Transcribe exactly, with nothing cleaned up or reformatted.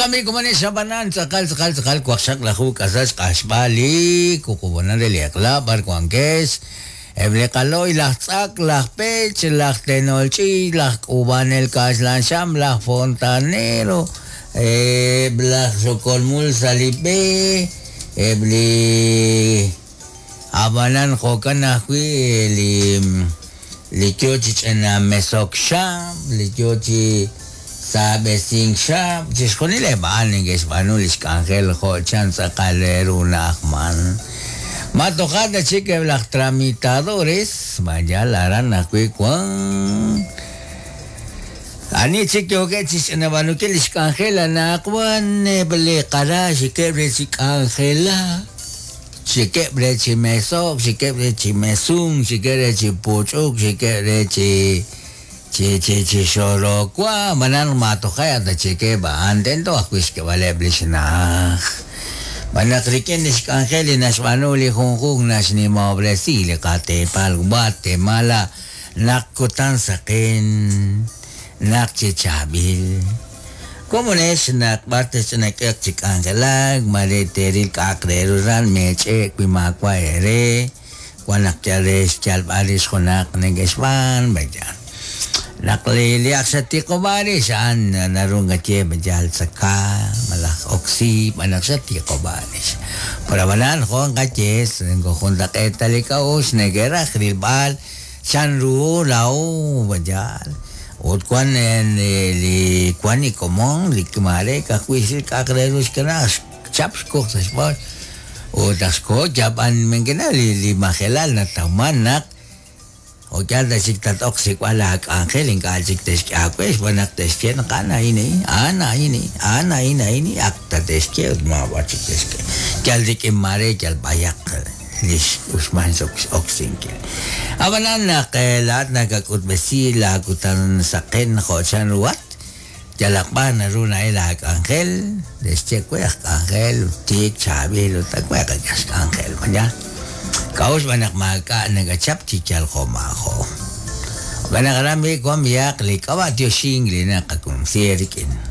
Okambi kumane xabanan tz'aqal tz'aqal tz'aqal waqxaq lajuj k'asal xq'axb'al li wuqub'onan re li eq'la b'ar wankex eb' li qalo'y laj tz'ak laj pech laj tenol ch'iich' laj k'ub'anel kaxlan xam laj fontanero eb' laj xokolmul sa' li b'e eb' li ab'anan jo'kan ajwi' li li yo chi ch'ina mesok xam li yo chi saab'esink xam chixjunil eb' a'an neke'xb'aanu li xk'anjel jo' chan tz'aqal re ru na'ajman ma toja' ta chik eb' laj tramitadores mayal aran ajwi' wan ani chik yookeb' chi xch'inab'aanunkil li xk'anjel anaqwan eb' li qara xikeb' re chi k'anjelak xikeb' re chi mesok xikeb' re chi mesunk xikeb' re chi puch'uk xikeb' re chi chi chi chi xorokwa manan ma toja' ta chikeb' a'an tento ajwi' xk'eb'aleb' li xna'aj b'anaq rik'in li xk'anjel li naxb'aanu li junjunq naxnimob'resi li qateepal Guatemala naq kutan saqen naq chi chaab'il komonex naq b'ar texch'inak'eq chi k'anjelak mare teeril k'a'aq re ru ran meech'ek wi maawa' eere wan naq yal re xyalb'al rix junaq neke'xb'aan b'ayal naq li li ak xatiqob'a rix a'an naru nkaye b'ayal tzaka malaj oksi b'anaq xatiqob'a rix pero ab'anan jo' nqaye juntaq'eet ta li k'a'uxl neke'raj rilb'al chan ru law b'ayal ut wan li wan li komon li mare ka'ajwi' xril k'a'aq re ru xkanaj xchap xkuj sa' xb'ool ut aj xko yab'an menkena li li majelal natawman naq o yal ta chik tat-oq xsik'b'al laak'anjel ink'a' chik texk'e aawe xb'aan naq texye naq a'an a'in a'an a'in a'an a'in a'in ak tatexye ut maab'ar chik texk'e yal rik'in mare yal b'ayaq li x'uxman oksinkil ab'anan naq laa'at nakak'utb'esi laakutan saqen jo' chan ruhat yalaq b'ar naru na'el laak'anjel texye we aj k'anjel tiik chaab'il ut we qak'e xk'anjel maya k'a'uxl b'an naq maak'a' nakachap chi yal jo' maajo' b'anaq aran b'i wan b'ihaq li k'ab'a' tioxink li naqakumsi rik'in.